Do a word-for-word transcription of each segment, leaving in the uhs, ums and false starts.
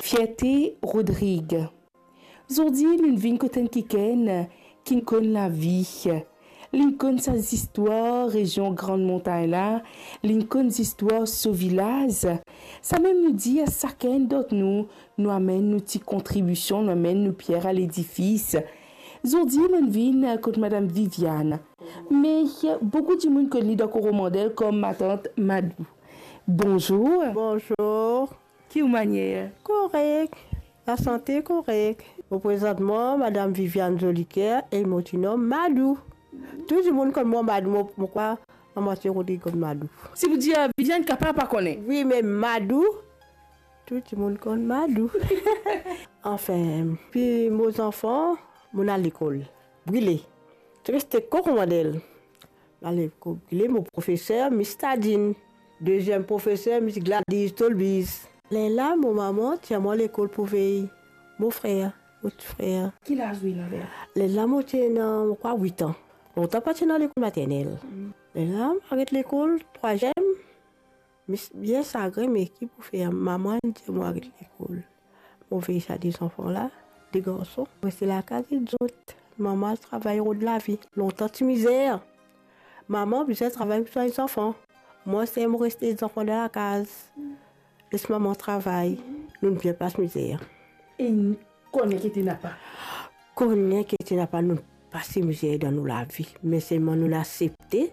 Fierte Rodrigue. Zordi, nou vinn kot enn kikenn ki konn lavi. Li konn sa zistwar rezion Gran Montagn la, li konn zistwar so vilaz. Samem nou dir sakenn dan nou, nou amenn nou ti kontribision, nou amenn nou pier a ledifis. Zordi, nou vinn kot Madam Viviane. Me boukou dimoun konn li dan Koromandel kom matant Madou. Bonzour. Bonzour. Ki ou manier? Korek. Lasante korek. Mo prezant mwa Madam Viviane Zoliker e mo ti nom Madou. Tou dimoun konn mwa Madou, mo, mo krwar lamwatie Rodrig konn Madou. Si pou dir, Viviane kapav pa kone. Wi, me Madou, tou dimoun konn Madou. Anfin, pi mo zanfan, mo al lekol. Brile. Ti reste Koromandel. Mo al lekol Brile, mo profeser, Miss Tadine. Deziem profeser, Miss Gladys Tolbiz. Lerla, mo mama tir mwa lekol pou vey mo frer, mo ti frer. Ki laz ou ena lerla? Lerla, mo ti ena, mo krwar, wit an. Lontan pa ti ena lekol maternel. Mm. Lerla, mo aret lekol, trwaziem. Me bien sagrin, me ki pou fer, mama inn dir mwa aret lekol. Mo vey sa de zanfan la, de garson. Mo reste lakaz ek zot. Mama al travay rod lavi. Lontan ti mizer. Mama bizin travay pou swagn zanfan. Mwa, se mo reste zanfan dan lakaz. Les mama travay. Nou'nn bien pas mizer. E kone ki ti napa? Kone ki ti napa, nou pase mizer dan nou lavi. Me selman nou asepte.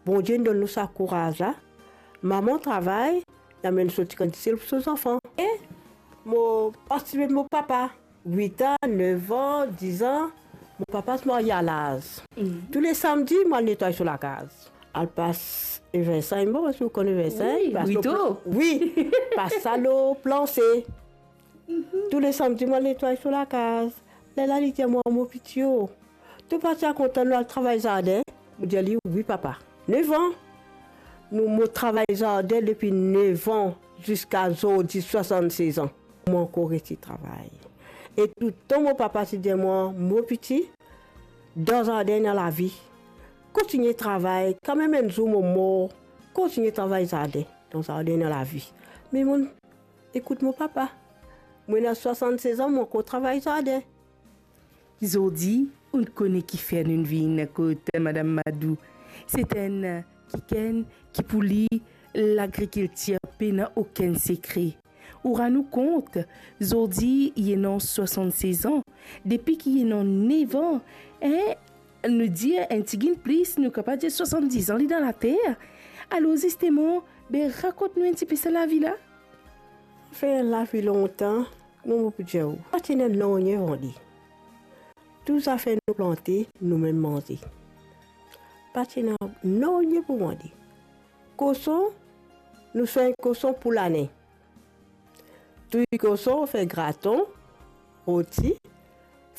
Bondie donn nou sa kouraz la. Mama travay, li amenn so ti kantite pou so zanfan. E mo partisipe mo papa. Wit an, nef an, diz an, mo papa ti marye a laz. Mm. Tou le samdi, mo al netway so lakaz. Al pas evensin, mo pa si ou konn evensin, wi, pas lo, wi, pas sa lo planse. Mhm. Tou le samdi, mo al netway so lakaz. Lerla li dir mwa, "Mo piti o, to pa ti a kontan nou al travay zardin?" Mo dir li, "Wi, papa." Nef an, nou, mo travay zardin depi nef an ziska zordi, swasann-sez an. Mo ankor resi travay. E touletan mo papa ti dir mwa, "Mo piti, dan zardin ena lavi. Kontigne travay, kanmem enn zour mo mor, kontigne travay zardin. Dan zardin ena lavi." Me mo ekout mo papa. Mo ena swasann-sez an, mo ankor travay zardin. Zordi, ou kone kifer nou vinn kot Madam Madou. Se enn kikenn ki pou li, lagrikiltir pena okenn sekre. Ou rann ou kont, zordi, li ena swasann-sez an, depi ki li ena nef an, en, nou dir enn tigit plis, nou kapav dir swasann-diz an li dan later. Alor, zisteman, be, rakont nou enn tipe sa lavi la. Fer lavi lontan, mo, mo pou dir ou, pa ti ena nanye vande. Tou zafer nou plante, noumem manze. Pa ti ena nanye pou vande. Koson, nou swagn koson pou lane. Touy koson, fer graton, roti,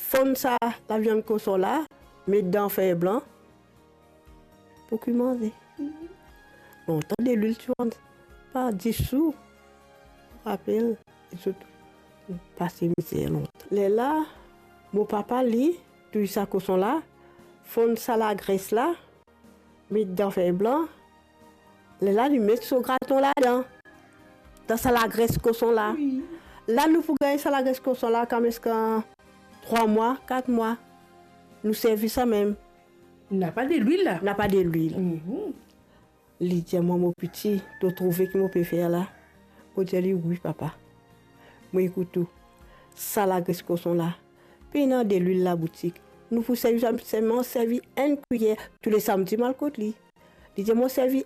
fonn sa laviann koson la, met dan fer blan, pou ki manze. Lontan delwil ti vann par dis sou. Rapel, zot pase mizer lontan. Lerla, mo papa li touy sa koson la, fonn sa lagres la, met dan fer blan, lerla li met so graton ladan, dan sa lagres koson la. Wi. La nou pou gagn sa lagres koson la, kameska trwa mwa, kat mwa. Nou servi samem. Napa delwil la? Napa delwil. Mhm. Li dir mwa, "Mo piti, to trouve ki mo pe fer la?" Mo dir li, "Wi, papa." Mo ekout ou. Sa lagres koson la, pena delwil laboutik. Nou pou servi sa, selman servi enn kwiyer. Tou le samdi mo al kot li. Li dir mwa, "Servi